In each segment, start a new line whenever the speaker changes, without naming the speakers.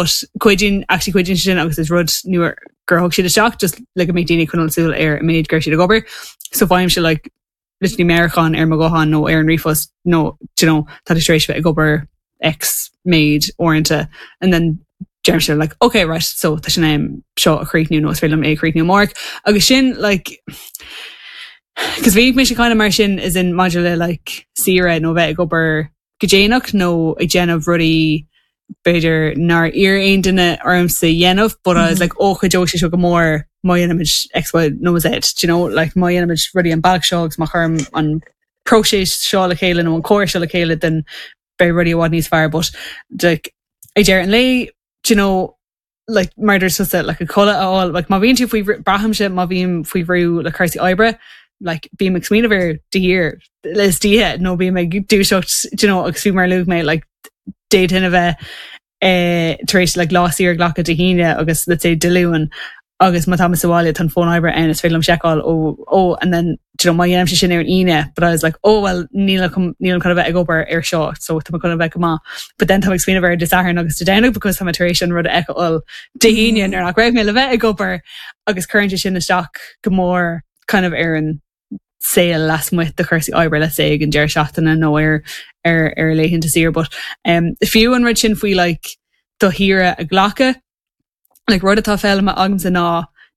But cuidíonn, actually cuidíonn sé sin agus is rud nua gur thug siad isteach just le go mbeidh daoine ag coinneáil súil ar an méid go raibh siad ag obair. So faighimse like literally meabhrúchán ar mo ghuthán nó ar an ríomhphost nó do you know tá tú tar éis bheith ag obair X méid uaireanta and then deirimse like okay right so tá sé in am seo a chríochnú nó is féidir liom é a chríochnú amárach agus sin like cos bhí mise kind of mar sin as in maidir le like saoire nó bheith ag obair go déanach nó ag déanamh rudaí b'fhéidir nár iarr aon duine ormsa a dhéanamh but I was like oh cuideoidh sé seo go mór má dhéanaimid X, Y nó Z, do you know, like má dhéanaimid rudaí an bealach seo agus má chuirim an próiseas seo le chéile nó an córas seo le chéile then beidh rudaí i bhfad níos fearr but like ag deireadh an lae, do you know, like mar a dúirt tusa like an codladh a fháil like má bhíonn tú faoi braithimse má bhím faoi bhrú le cúrsaí oibre like bím ag smaoineamh air de shíor istoíche nó bím ag dúiseacht do you know agus fiú mar a luaigh mé like d'fhéadfainn a bheith eh, tar éis like lá saor a ghlacadh Dé hAoine agus let's say Dé Luain agus má tá mé sa bhaile tá an fón oibre ann is féidir liom seiceáil ó ó and then do you know má dhéanaimse sin ar an Aoine but I was like oh well níl chun nílim chun a bheith ag obair ar seo so tá mé chun a bheith go maith but then tá mé ag smaoineamh air Dé Sathairn agus Dé Domhnaigh because tá mé tar éis an rud a fheiceáil Dé hAoine nuair nach raibh mé le bheith ag obair agus cuireann sé sin isteach go mór kind of ar an saol lasmuigh de chúrsaí oibre let's say ag an deireadh seachtaine nó ar ar ar laethanta saoire but um, fiú an rud sin faoi like do shaoire a ghlacadh like rud atá foghlamtha agamsa ná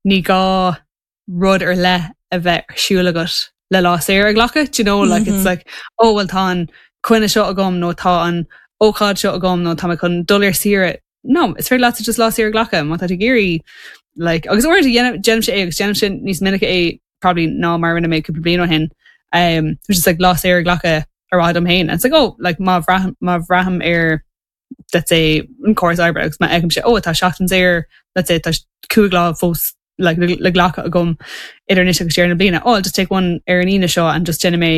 ní gá rud ar leith a bheith ar siúl agat le lá saor a ghlacadh, do you know, like it's like oh well tá an coinne seo agam nó tá an ócáid seo agam nó tá mé chun dul ar saoire. No, is féidir leatsa just lá saor a ghlacadh má tá tú ag iarraidh like agus uaireanta déanaimse é agus déanaimse níos minice é probably ná mar a rinne mé cúpla bliain ó shin. Um, which is like lá saor a ghlacadh ar mhaithe dom féin. And it's like oh like má bhraithim má bhraithim ar let's say an córas oibre agus má fheicimse oh tá seachtain saor let's say tá 5 lá fós like le glacadh agam idir anois agus deireadh na bliana. Oh I'll just take one ar an Aoine seo and just déanfaidh mé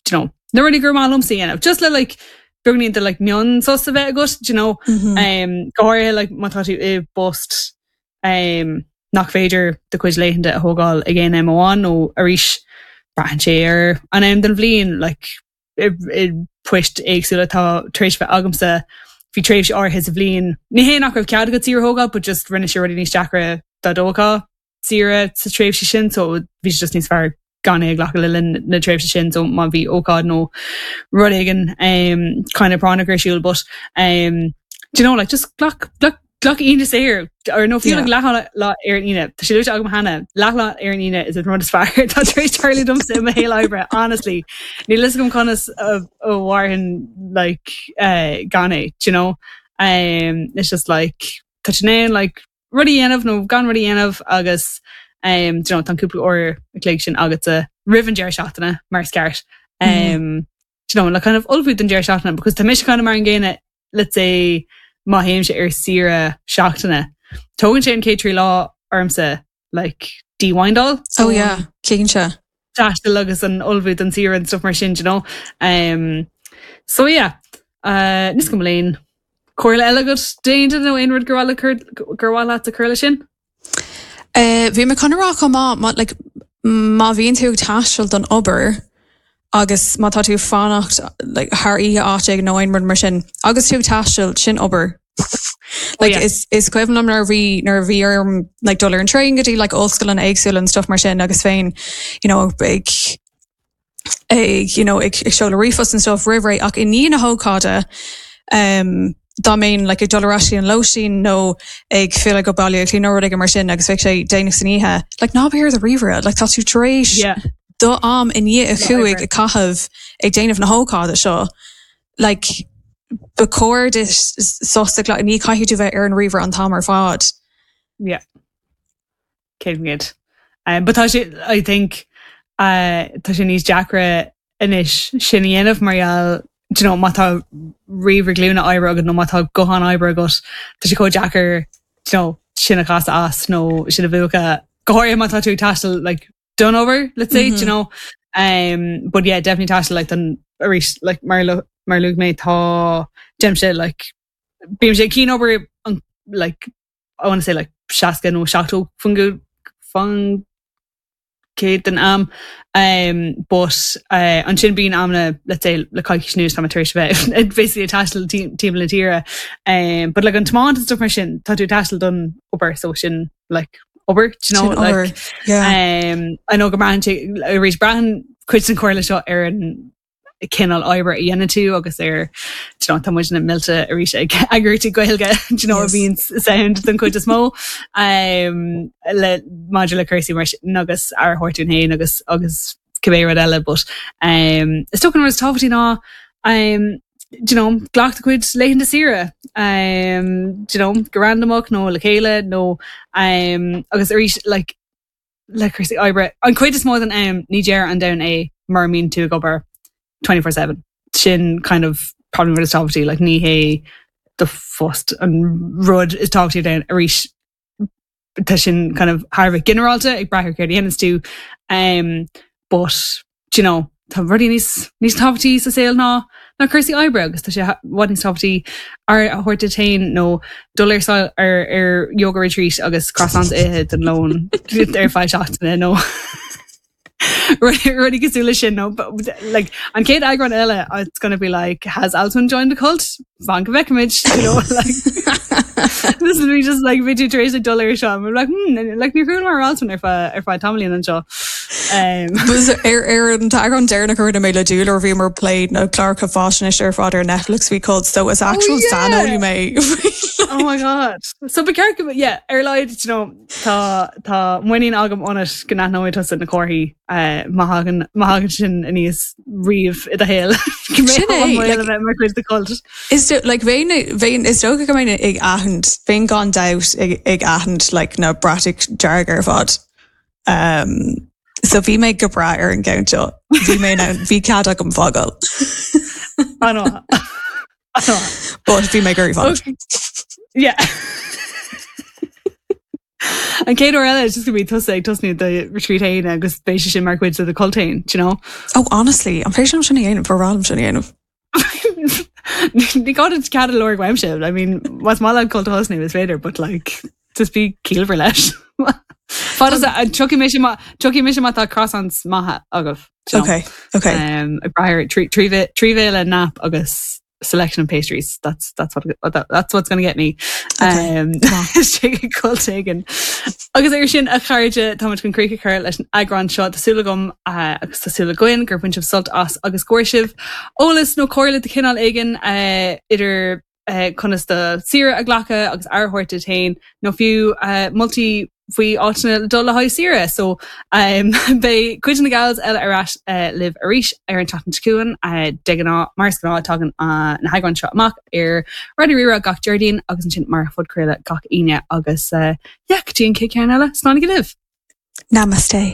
do you know na rudaí gur maith liomsa a dhéanamh. Just le like beagáinín de like mion sos a bheith agat do you know mm -hmm. um, go háirithe like má tá tú i bpost um, nach féidir do chuid laethanta a thógáil ag aon am amháin nó arís braitheann sé ar an am den bhliain like i bpoist éagsúla atá tar éis bheith agamsa bhí tréimhse áirithe sa bhliain. Ní hé nach raibh cead agat saoire a thógáil but just rinne sé rudaí níos deacra dá dtógfá saoire sa tréimhse sin so bhí sé just níos fearr gan é a ghlacadh le linn na tréimhse sin so má bhí ócáid nó rud éigin um, kind of práinneach ar siúl but um, do you know like just glac glac Glac Aoine saor, or nó fiú like leath lá ar an Aoine. Tá sé luaite agam cheana, leath lá ar an Aoine is an rud is fearr atá tar éis tarlú domsa i mo shaol oibre, honestly. Níl fhios agam conas a mhairfinn like eh, gan é, do you know? Um, it's just like, tá tú in ann like rud a dhéanamh nó gan rud a dhéanamh agus um, do you know, tá an cúpla uair a chloig sin agatsa roimh an deireadh seachtaine mar is ceart. Um, do you know, le kind of ullmhú don deireadh seachtaine because tá mise kind of mar an gcéanna let's say má théimse ar saoire seachtaine tógann sé an chéad 3 lá ormsa like de-windáil.
Oh yeah, cinnte.
Taisteal agus an ullmhú don saoire and stuff mar sin, do you know. Um, so yeah, uh, níl 's agam an bhfuil aon comhairle eile agat d'aon duine nó aon rud gur mhaith le gur mhaith leat a chur leis sin?
Eh, bhí mé chun a rá chomh maith, má, like, má bhíonn tú ag taisteal don obair agus má tá tú ag fanacht like, thar oíche áit éigin nó aon rud mar sin, agus tú ag taisteal, sin obair. Like, oh, yeah. is, is cuimhin liom nuair a bhí nuair a bhí orm like, dul ar an traein go dtí like, ollscoileanna éagsúla and stuff mar sin agus féin you know, ag ag you know ag seoladh ríomhphost and stuff roimh ré ach i ndiaidh na hócáide um, dá mbeinn like, ag dul ar ais an lóistín nó ag filleadh go Baile Átha Cliath nó rud éigin mar sin agus bheadh sé déanach san oíche like, ná bí ar do ríomhaire like, tá tú tar éis yeah. do am i ndiaidh a chúig a chaitheamh ag déanamh na hócáide seo like, ba chóir duit sos a ghlacadh ní caithfidh tú bheith ar an ríomhaire an t-am ar fad.
Yeah. 100%. Um, but tá sé, I think, uh, tá sé níos deacra anois sin a dhéanamh mar gheall, do you know, má tá ríomhaire glúine oibre agat nó má tá guthán oibre agat, tá sé chomh deacair, do you know, sin a chasadh as nó sin a mhúchadh. Go háirithe má tá tú ag taisteal like, don obair, let's say, mm -hmm. do you know. Um, but yeah, definitely taisteal like, don arís like, mar, mar luaigh mé tá déanaimse like, bímse ag cianobair an like, I want to say like 60 nó 70 faoin. 100 den am. Um, but uh, ansin bíonn amanna let's say le coicís anuas tá mé tar éis bheith basically ag taisteal timpeall na tíre. Um, but like an tiomáint and stuff mar sin tá tú ag taisteal don obair so sin like obair do you know,
Sin obair,
like,
yeah.
um, I know go mbraitheann sé arís braitheann cuid den chomhairle seo ar an cineál oibre a dhéanann tú agus ar do you know, tá muidne millte arís ag eagraíochtaí Gaeilge do you know, a
Yes.
bhíonn sound den chuid is mó um, le maidir le cúrsaí mar sin agus aire a thabhairt dúinn féin agus agus cibé rud eile but um, is dócha an rud is tábhachtaí ná um, do you know, glac do chuid laethanta saoire um, do you know, go randamach nó le chéile nó um, agus arís like, le cúrsaí oibre. An chuid is mó den am ní deireadh an domhain é mura mbíonn tú ag obair 24/7. Sin kind of probably rud is tábhachtaí, like ní hé do phost an rud is tábhachtaí ar domhan arís tá sin kind of thar a bheith ginearálta ag brath ar céard a dhéananns tú um, but do you know, tá rudaí níos, níos tábhachtaí sa saol ná ná cúrsaí oibre agus tá sé i bhfad níos tábhachtaí aire a thabhairt duit féin nó dul ar sail ar, ar yoga retreat agus croissants a ithe don lón ar feadh seachtaine nó rudaí cosúil leis sin nó like, an chéad eagrán eile it's gonna be like has Alswyn joined the cult? Fan go bhfeicfimid, you know, like this will be just like bhí tú tar éis ag dul ar seo I'm like hmm, like níor chuala mé ar Alswyn ar feadh ar feadh tamaillín anseo.
Um, Was ar ar an t-eagrán deireanach a rinne mé le Dúlra bhíomar ag plé na cláracha faisnéise ar fad ar Netflix faoi cult so is actual
oh, yeah.
saineolaí mé.
Oh my god. So ba cheart go yeah, ar a laghad you know, Tá tá muinín agam ionat go n-aithneoidh tusa na comharthaí má thagann má thagann sin aníos riamh i do shaol. Go mbeidh
Sin é,
an baol
like,
a bheith mar chuid de cult.
Is do, like, bheinn bheinn is dócha go mbeinn ag aithint, bheinn gan dabht ag ag aithint like, na bratacha dearga ar fad. Um, so bhí mé go breá ar an gceann seo. Bhí mé in ann, bhí cead agam fágáil.
An-mhaith. An-mhaith.
But bhí mé ag iarraidh fanacht.
Okay. Yeah. An chéad uair eile, it's just gonna be tusa ag tosnú do retreat féin agus beidh sé sin mar chuid de do cult féin, do you know?
Oh, honestly, an féidir liom sin a dhéanamh, ba bhreá liom sin a dhéanamh.
Ní gá duit cead a lorg uaimse, I mean, más maith leat cult a thosnú is féidir, but like, just bí ciallmhar leis. Fad is a, tiocfaidh mise má, tiocfaidh mise má tá croissants maithe agaibh. do you know?
Okay, okay.
Um, ag brath ar 3 bhéile nap agus selection of pastries. That's, that's, what, that, that's what's gonna get me.
Okay.
Um, Istigh i gcult éigin. Agus ar sin a chairde táimid chun críoch a chur leis an eagrán seo Tá súil agam uh, agus tá súil againn gur bhain sibh sult as agus go bhfuair sibh eolas nó comhairle de chineál éigin uh, idir uh, conas do saoire a ghlacadh agus aire a thabhairt duit féin nó fiú uh, moltaí faoi áiteanna le dul le haghaidh saoire. So um, beidh cuid de na gals eile ar ais uh, libh arís ar an tseachtain seo chugainn uh, de ghnáth mar is gnáth tagann uh, na heagráin seo amach ar Raidió Rí-Rá gach Déardaoin agus ansin mar phodchraoladh gach Aoine agus uh, yeah, go dtí an chéad cheann eile, slán libh.
Namaste.